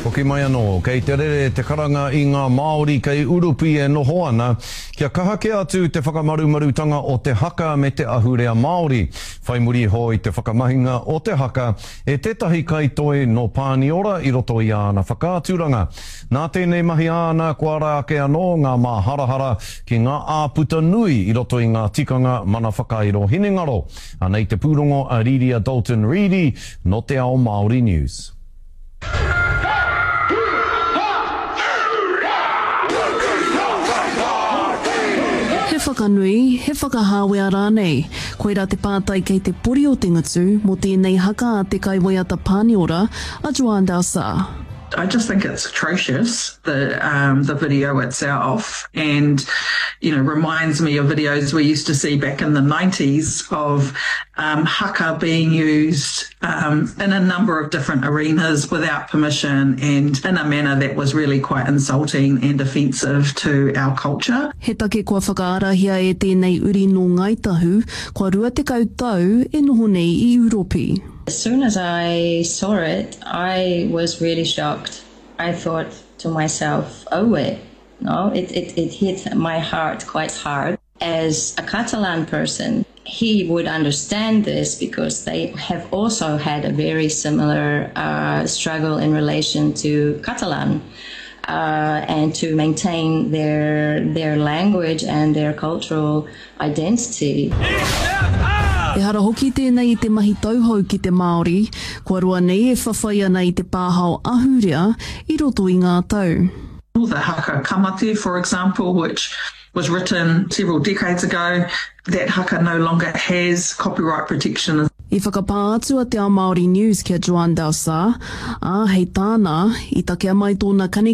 Hoki mai anō, kei te rere te karanga i ngā Māori kei Urupi e noho ana, kia kaha kē atu te whakamarumarutanga o te haka me te ahurea Māori, whai muri iho i te whakamahinga o te haka e tētahi kaitoi nō Pāniora i roto i āna whakaaturanga. Nā tēnei mahi āna kua ara ake anō ngā māharahara ki ngā āputa nui i roto i ngā tikanga mana whakairo hinengaro. Anei te pūrongo a Riria Dalton-Reedy nō Te Ao Māori News. He whakanui, he whakahāwea rānei? Koirā te pātai kei te pori o te ngutu mō tēnei haka a te kaiwaiata Pāniora, a Joan Dausà. I just think it's atrocious, the um the video itself and you know reminds me of videos we used to see back in the nineties of um haka being used um in a number of different arenas without permission and in a manner that was really quite insulting and offensive to our culture. He take kua whakaarahia e tēnei uri nō Ngāi Tahu, kua 20 tau e noho nei i Ūropi. As soon as I saw it, I was really shocked. I thought to myself, oh wait, no, it, it, it hit my heart quite hard. As a Catalan person, he would understand this because they have also had a very similar uh, struggle in relation to Catalan. Uh, and to maintain their their language and their cultural identity. Ehara hoki tēnei i te mahi tauhou ki te Māori, kua roa nei e whawhai ana i te pāhao ahurea i roto i ngā tau. The haka Ka Mate, for example, which was written several decades ago, that haka no longer has copyright protection. I whakapā atu a Te Ao Māori News ki a Joan Dausà, ā, hei tāna, i takea mai tōna kanikani.